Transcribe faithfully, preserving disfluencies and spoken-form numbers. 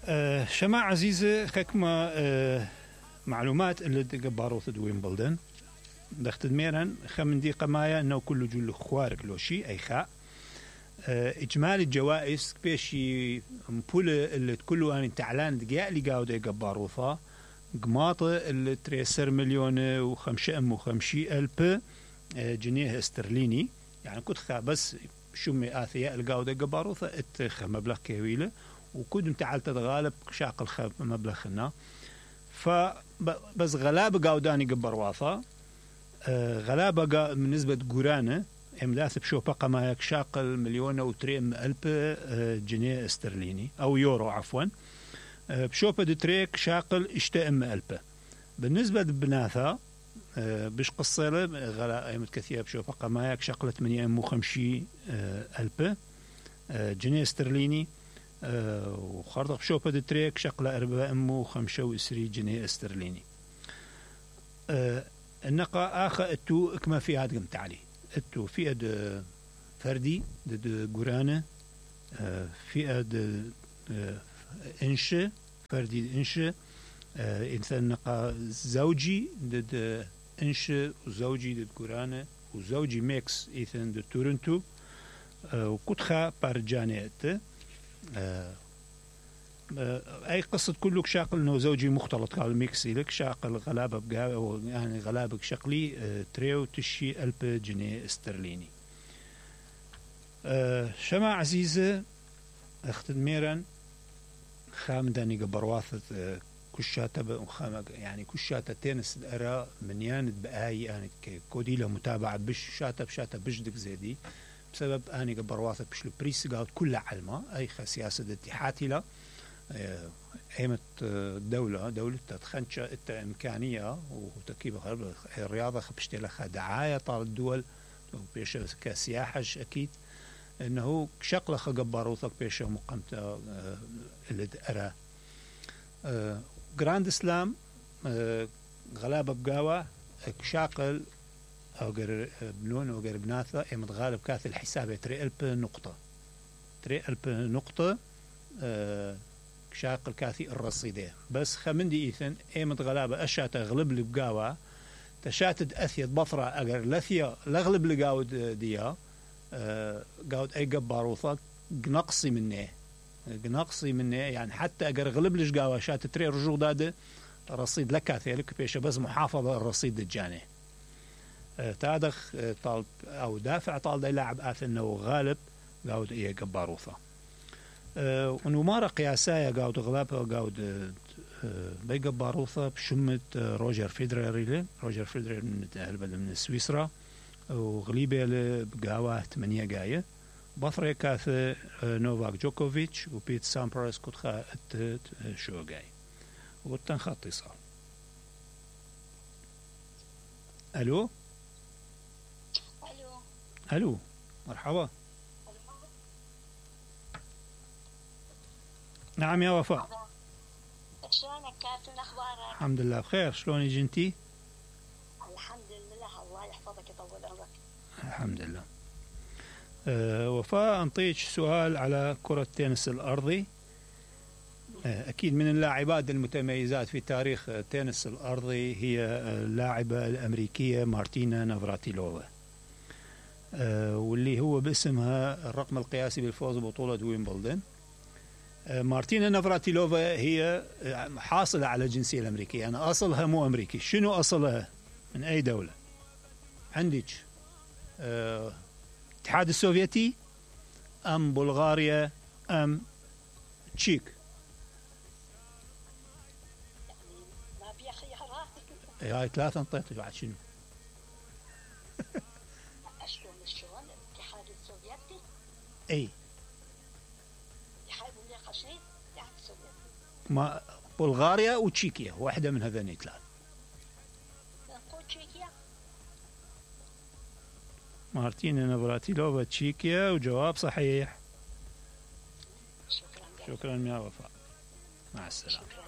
أه شما عزيزة خكمة أه معلومات اللي تقبارو تدوين بلدن دخت دميرا خمن دي قمايا انه كله جل خوارق لو شي اي خاء أه اجمالي الجوائز بيشي مبولة اللي كله اني تعلان دقياء اللي قاعدة يقباروثا قماطة اللي تريسر مليون وخمشة ام وخمشي الف أه جنيه استرليني يعني كنت خا بس شمي آثياء اللي قاعدة يقباروثا اتخ مبلغ كويلة وكود انتعال تتغالب شاق الخب مبلغنا فبس غلابة قاوداني قبر واثا آه غلابة بالنسبة قرانة امداث بشوفة قما شاق المليون وتريم ألف آه جنيه استرليني أو يورو عفوا آه بشوفة دتريك شاقل اشتأم ألف بالنسبة لبناثا آه بش قصيلة غلا ايمت كثيرة بشوفة قما شاقل ثمانية وخمسين آه ألف آه جنيه استرليني أه وخرطق بشوفة دتريك شقلة أربعة أم وخمسة وعشرين جنيه استرليني أه النقا آخر اتو اكما في هاد قمت عليه اتو في اد فردي دد قرانة أه في اد أه انشة فردي انشة أه انسان نقا زوجي دد انشة وزوجي دد قرانة وزوجي ميكس ايثن دد تورنتو أه وكتخا بارجانيت آه آه أي قصة كلك شاقل إنه زوجي مختلط قال ميكسي لك شاقل غلابة بقى يعني غلابة شقلي آه تريو تشي ألف جنيه استرليني آه شما عزيزة أخت ميران خام داني قبرواثة آه كشاتة يعني كشاتة تنس الأرا من ياند بآي يعني كودي له متابعة بش شاتة بشاتة بشدك زيدي بسبب أني قبرواثة بشلو بريس قاعد كل علمة أي سياسة اتحاتي لا أيمت دولة دولة تخنش إمكانية وتكيب الرياضة خبشتي لها دعاية طال الدول بيش كسياحة أكيد إنه شقلة قبروثك بيش مقامته اللي أرى جراند إسلام غلابة بقاوة شاقل أو غير بنون أو غير بناثة إمت غالب كاث الحساب تري ألف نقطة تري ألف نقطة أه شاقل كاثي الرصيدة بس خمندي إيثن إمت غلابة أشات أغلب لي بقاوة تشاتد أثيت بطرة أجر لثيا لغلب لقاود ديا أه قاود أي قباروثة نقصي منه نقصي منه يعني حتى أجر غلب ليش قاوة شات تري رجوع داده رصيد لكاثي لك بيش بس محافظة الرصيد الجاني تادخ طالب أو دافع طالب لاعب آثنه غالب قاود إيه قباروثة أه ونمارة قياسية قاود غلابة قاود أه بيقباروثة بشمة روجر فيدرر روجر فيدرر من من سويسرا وغليبة بقاوة ثمانية جاية بطريقة كاث نوفاك جوكوفيتش وبيت سامبرس كتخا شو جاي والتنخط اتصال. ألو ألو مرحبا. نعم يا وفاء. شلونك كاتب أخبارك؟ الحمد لله بخير. شلونك انتي؟ الحمد لله الله يحفظك يطول عمرك. الحمد لله. أه وفاء أنطيك سؤال على كرة التنس الأرضي. أه أكيد من اللاعبات المتميزات في تاريخ التنس الأرضي هي اللاعبة الأمريكية مارتينا نافراتيلوفا. أه واللي هو باسمها الرقم القياسي بالفوز ببطولة ويمبلدون. أه مارتينا نافراتيلوفا هي حاصلة على الجنسية الأمريكية. أنا أصلها مو أمريكي. شنو أصلها؟ من أي دولة؟ عندك أه الاتحاد السوفيتي أم بلغاريا أم تشيك؟ ما في خيارات. هاي ثلاثة انطيت بعد شنو؟ شلون شلون الاتحاد السوفيتي؟ اي الاتحاد النقاشين الاتحاد السوفيتي. ما بلغاريا وتشيكيا واحدة من هذين ثلاث. نقول تشيكيا. مارتينا نافراتيلوفا تشيكيا وجواب صحيح. شكرا. شكرا يا وفاء. مع السلامة. شكرا.